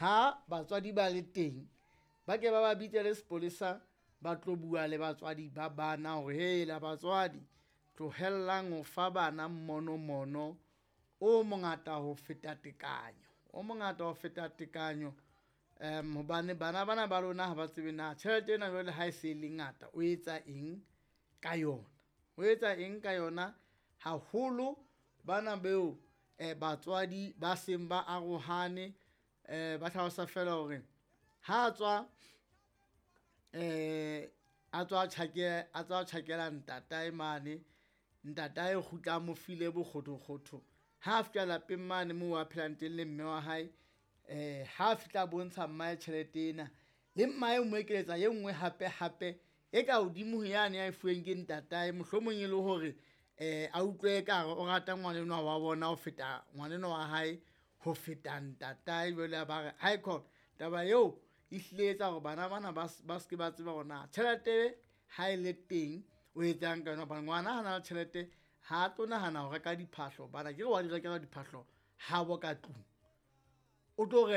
Ha batswadi ba le teng, ba ke ba ba bitse le sepolesa, ba tlo bua le batswadi ba bana hore hela batswadi tlohellang ho fa bana monomono o mongata ho feta tekanyo, o mongata ho feta tekanyo. Hobane bana bana ba lona ha ba tsebe na tjhelete ena jwale ha e se le ngata o etsa eng ka yona, o etsa eng ka yona haholo bana beo batswadi ba seng ba arohane. Ba hlalosa fela hore ha tswa a tswa a tswa tjhakela ntatae mane, ntatae o kgutla a mo file bokgothokgotho. Ha a fihla lapeng mane moo a phelang teng le mme wa hae, ha fihla a bontsha mmae tjhelete ena le mmae o mo ekeletsa e nngwe hape hape e ka hodimo ho yane a e fuweng ke ntatae. Mohlomong e le hore a utlwe ekare o rata ngwana enwa wa bona ho feta ngwana enwa wa hae ho feta ntatae. Jwale a ba re aikhona taba eo e hlile e etsa hore bana bana ba seke ba tseba hore na tjhelete ha e le teng o etsang ka yona, hobane ngwana ha na le tjhelete ha tlo nahana ho reka diphahlo hobane akere wa di rekelwa diphahlo habo ka tlung, o tlo .